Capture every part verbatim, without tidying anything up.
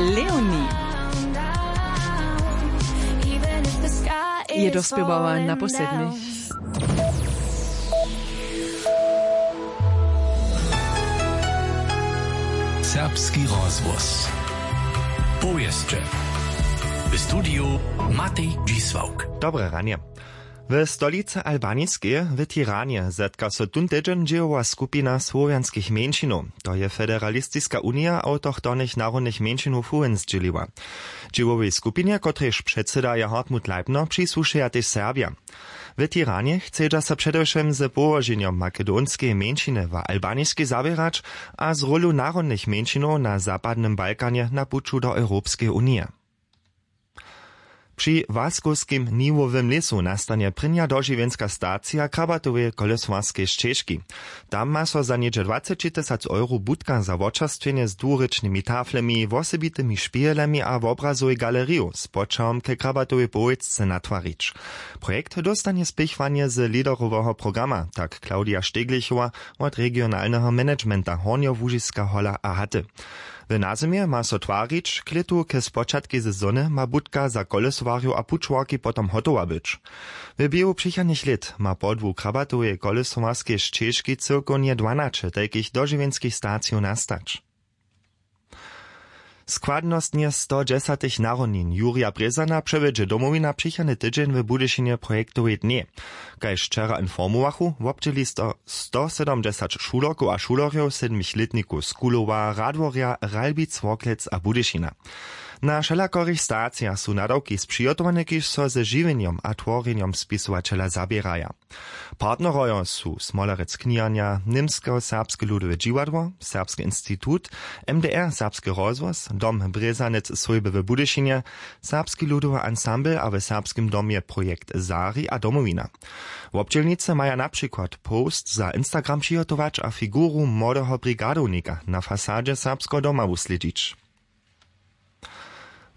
Leonie je dospěwała na poslednich. Serbski rozhłos. Powěsće. W studiju Matej Dźisławk. Dobre ranje. W stolicy Albaniskej w Tiranje zetka so tón tydźeń dźěłowa skupina słowjanskich mjeńšinow. To je Federalistiska unija awtochtonych narodnych mjeńšinow fuhens dźěliła. Dźěłowej skupinje, kotrež předsyda je Hartmut Leibner, přisłušeja tež Serbja. W Tiranje chcedźa so předewšěm z połoženjom makedonskeje mjeńšiny w Albaniskej zawěrać a z rólu narodnych mjeńšinow na zapadnym Balkanje na puću do Europskeje unije. Při Waskowskim niwowym lěsu nastanje prěnja dožiwjenska stacija Krabatoweje kolesowarskej šćežki. Tam ma so za něhdźe dwaceći tysac euro budka za wočerstwjenje z dwurěčnymi taflemi, wosebitymi špihelemi a wobrazowej galeriju z poćahom ke Krabatowej powětce natwarić. Projekt dóstanje spěchowanje z leaderoweho programa, tak Claudia Steglichowa wot regionalneho managementa Hornjołužiska Hola a Haty. W nazymje ma so twarić, k lětu ke spočatkej sezony ma budka za kolesowarjow a pućowarki potom hotowa być. W běhu přichodnych lět ma podłu Krabatoweje kolesowarskej šćežki cyłkownje dwanaće tajkich dožiwjenskich stacijow nastać. Składnostnje sto dźesatych narodnin Jurja Brězana přewjedźe Domowina přichodny tydźeń w Budyšinje projektowej dnjej. Kaž wčera informowachu, wobdźěli sto, sto sydomdźesat šulerkow a šulerjow, sedmich lětnikow z Kulowa, Radworja, Ralbic, Worklec a Budyšina. Na wšelakorych stacijach su nadawki spřihotowane, kiž so ze žiwjenjom a tworjenjom spisowaćela zaběraja. Partnerojo su Smolerec kniharnja, Němsko-serbske ludowe dźiwadło, Serbski institut, M D R Serbski rozhłos, Dom Brězanec swójby w Budyšinje, Serbski ludowy ansambl a w Serbskim domje projekt Zari a Domowina. Wobdźělnicy maja na přikład post za Instagram přihotować a figuru młodeho brigadownika na fasadźe Serbskeho doma wuslědźić.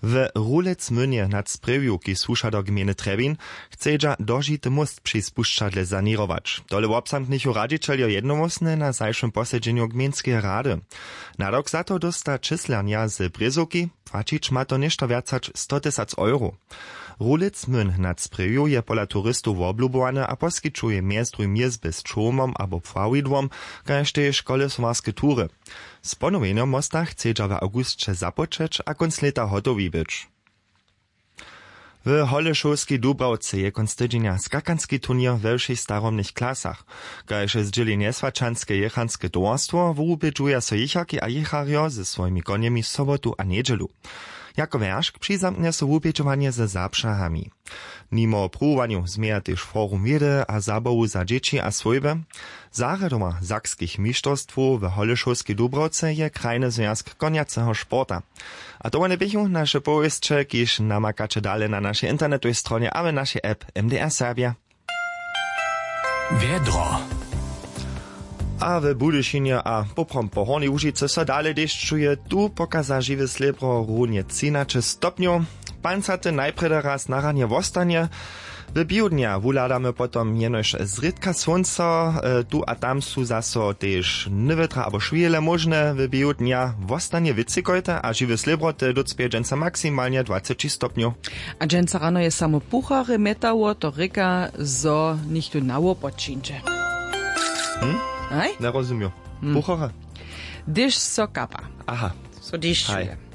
W Rulecmynje nad Sprjewju, kiž słuša do gmejny Trjebin, chcedźa dožity móst při spušćadle saněrować. Tole wobzamknychu radźićeljo jednohłosnje na zašłym posedźenju gmejnskeje rady. Nadawk za to dósta číslernja z Brězowki, płaćić ma to něšto wjac hač sto tysac euro. Rulecmyn nad Sprjewju je pola turistow woblubowany a poskićuje mjez druhim jězby z čołmom abo pławidłom, kaž tež kolesowarske tury. Z ponowjenjom mosta chcedźa w awgusće započeć a kónc lěta hotowi być. W Holešowskej Dubrawce je kónc tydźenja skakanski turněr we wšěch starobnych klasach. Kaž zdźěli Njeswaćanske jěchanske towarstwo, wubědźuja so jěcharki a jěcharjo ze swojimi konjemi sobotu a njedźelu. Jako wjeršk přizamknje so wubědźowanje ze zapřahami. Nimo pruwowanjow změja tež forum wědy a zabawu za dźěći a swójby. Zarjadowa sakskich mišterstwow w Holešowskej Dubrawce je krajny zwjazk konjaceho sporta. A to wone běchu naše powěsće, kiž namakaće dale na našej internetowej stronje a w našej app M D R Serbja. Wjedro. A w Budyšinje a poprawom po Hornjej Łužicy so dale dešćuje. Tu pokaza žiwe slěbro runje třinaće stopnjow. Pancate najprjedy raz na ranje wostanje. W běhu dnja wuhladamy potom jenož zrědka słónco, e, tu a tam su zaso tež nywětra abo šwěhle móžne. W běhu dnja wostanje wětřikojte a žiwe slěbroty dócpěje dźensa maksimalnje dwaceći stopnjow. A dźensa rano je samo puchary mjetało, to rěka, zo něchtó na wopod přińdźe. Hm? Haj? Njerozumił. Hm. Puchary? Hdyž so kapa. Aha. So dešćuje. Haj.